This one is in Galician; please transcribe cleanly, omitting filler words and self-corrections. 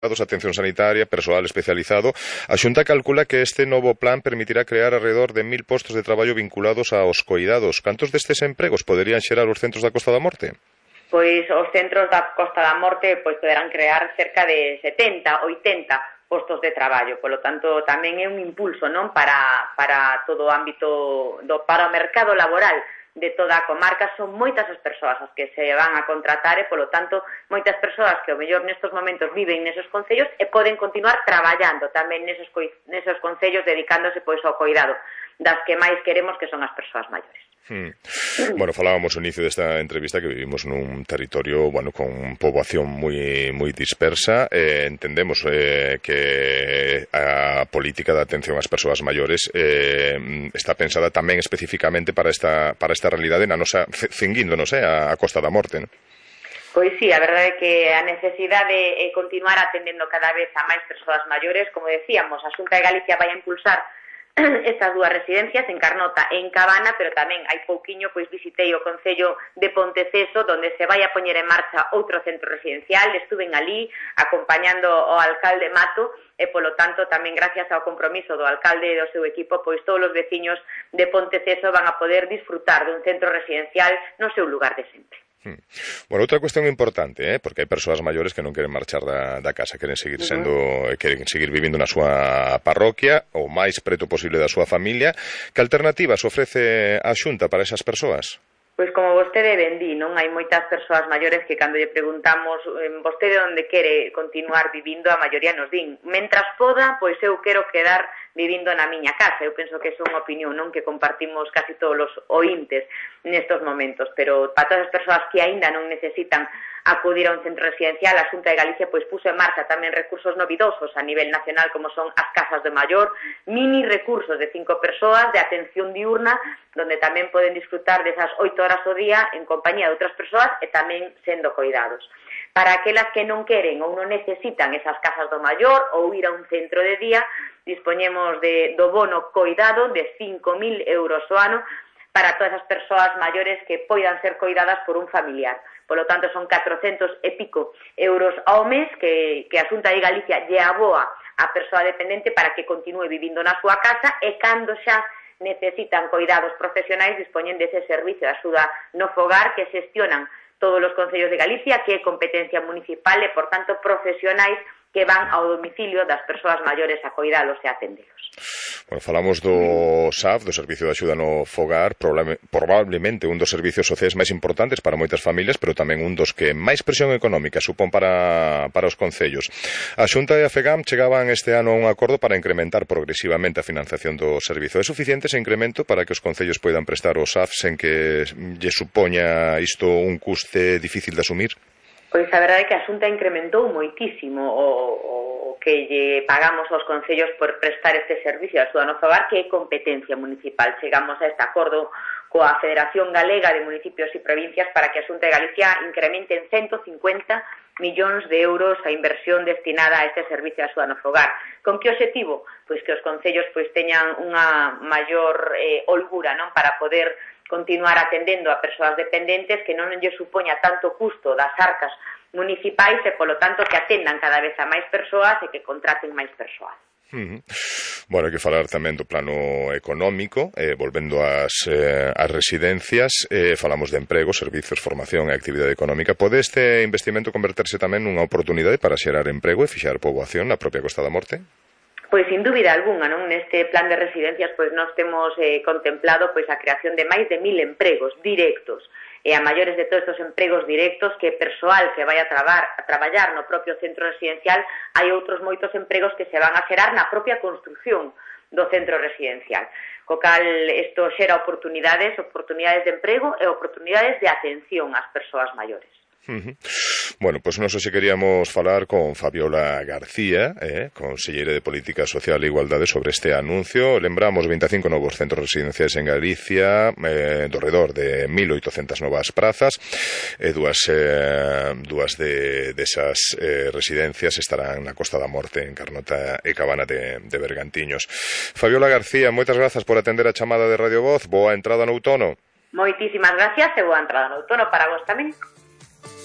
atención sanitaria, persoal especializado. A Xunta calcula que este novo plan permitirá crear alrededor de 1000 postos de traballo vinculados aos coidados. Cantos destes empregos poderían xerar os centros da Costa da Morte? Pois os centros da Costa da Morte poderán crear cerca de 70, 80 postos de traballo. Polo tanto, tamén é un impulso, non, para todo o ámbito para o mercado laboral de toda a comarca. Son moitas as persoas as que se van a contratar e, polo tanto, moitas persoas que ao mellor nestes momentos viven nesos concellos e poden continuar traballando tamén nesos concellos dedicándose pois ao cuidado das que máis queremos, que son as persoas maiores. Bueno, falábamos ao inicio desta entrevista que vivimos nun territorio, bueno, con poboación moi dispersa. Entendemos que a política de atención ás persoas maiores está pensada tamén especificamente para esta realidade na nosa, cinguíndonos a Costa da Morte, non? Pois sí, a verdade é que a necesidade é continuar atendendo cada vez a máis persoas maiores. Como decíamos, a Xunta de Galicia vai a impulsar estas dúas residencias en Carnota e en Cabana, pero tamén hai pouquiño pois visitei o Concello de Ponteceso, onde se vai a poñer en marcha outro centro residencial. Estuven ali acompañando ao alcalde Mato e, polo tanto, tamén gracias ao compromiso do alcalde e do seu equipo, pois todos os veciños de Ponteceso van a poder disfrutar dun centro residencial no seu lugar de sempre. Bueno, outra cuestión importante, porque hai persoas maiores que non queren marchar da casa, queren seguir vivindo na súa parroquia o máis preto posible da súa familia. Que alternativas ofrece a Xunta para esas persoas? Pois como vostede ben di, non hai moitas persoas maiores que cando lle preguntamos vostede onde quere continuar vivindo, a maioría nos din, mentras poda, pois eu quero quedar vivindo na miña casa. Eu penso que é unha opinión, non, que compartimos casi todos os ointes nestos momentos, pero para todas as persoas que aínda non necesitan acudir a un centro residencial, a Xunta de Galicia pois puso en marcha tamén recursos novidosos a nivel nacional, como son as casas de maior, mini recursos de 5 persoas de atención diurna, donde tamén poden disfrutar desas 8 horas ao día en compañía de outras persoas e tamén sendo coidados. Para aquelas que non queren ou non necesitan esas casas do maior ou ir a un centro de día, dispoñemos do bono coidado de 5.000 euros ao ano para todas as persoas maiores que poidan ser coidadas por un familiar. Polo tanto, son 400 e pico euros ao mes que a Xunta de Galicia lle aboa a persoa dependente para que continúe vivindo na súa casa e cando xa necesitan coidados profesionais dispoñen dese servicio de axuda no fogar que xestionan todos os concellos de Galicia, que é competencia municipal e, por tanto, profesionais que van ao domicilio das persoas maiores a coidalos e atendelos. Bueno, falamos do SAF, do Servicio de Axuda no Fogar, probablemente un dos servicios sociais máis importantes para moitas familias, pero tamén un dos que máis presión económica supón para os concellos. A Xunta e a FEGAM chegaban este ano a un acordo para incrementar progresivamente a financiación do servizo. É suficiente ese incremento para que os concellos poidan prestar o SAF sen que lle supoña isto un custe difícil de asumir? Pois a verdade é que a Xunta incrementou moitísimo o que lle pagamos aos concellos por prestar este servicio de axuda no fogar, que é competencia municipal. Chegamos a este acordo coa Federación Galega de Municipios e Provincias para que a Xunta de Galicia incremente en 150 millóns de euros a inversión destinada a este servicio de axuda no fogar. Con que obxectivo? Pois que os concellos teñan unha maior holgura, non, para poder continuar atendendo a persoas dependentes, que non lle supoña tanto custo das arcas municipais e, polo tanto, que atendan cada vez a máis persoas e que contraten máis persoas. Bueno, hai que falar tamén do plano económico, volvendo ás residencias, falamos de emprego, servizos, formación e actividade económica. Pode este investimento converterse tamén nunha oportunidade para xerar emprego e fixar poboación na propia Costa da Morte? Pois, sin dúbida algunha, non? Neste plan de residencias, pois, nós temos contemplado pois a creación de máis de 1000 empregos directos. E a maiores de todos estes empregos directos, que persoal que vai a traballar no propio centro residencial, hai outros moitos empregos que se van a xerar na propia construción do centro residencial. Co cal, isto xera oportunidades de emprego e oportunidades de atención ás persoas maiores. Bueno, pois nós hoxe queríamos falar con Fabiola García, conselleira de Política Social e Igualdade, sobre este anuncio. Lembramos 25 novos centros residenciais en Galicia, do redor de 1.800 novas prazas, e dúas desas residencias estarán na Costa da Morte, en Carnota e Cabana de Bergantiños. Fabiola García, moitas grazas por atender a chamada de Radio Voz. Boa entrada no outono. Moitísimas gracias e boa entrada no outono para vos tamén.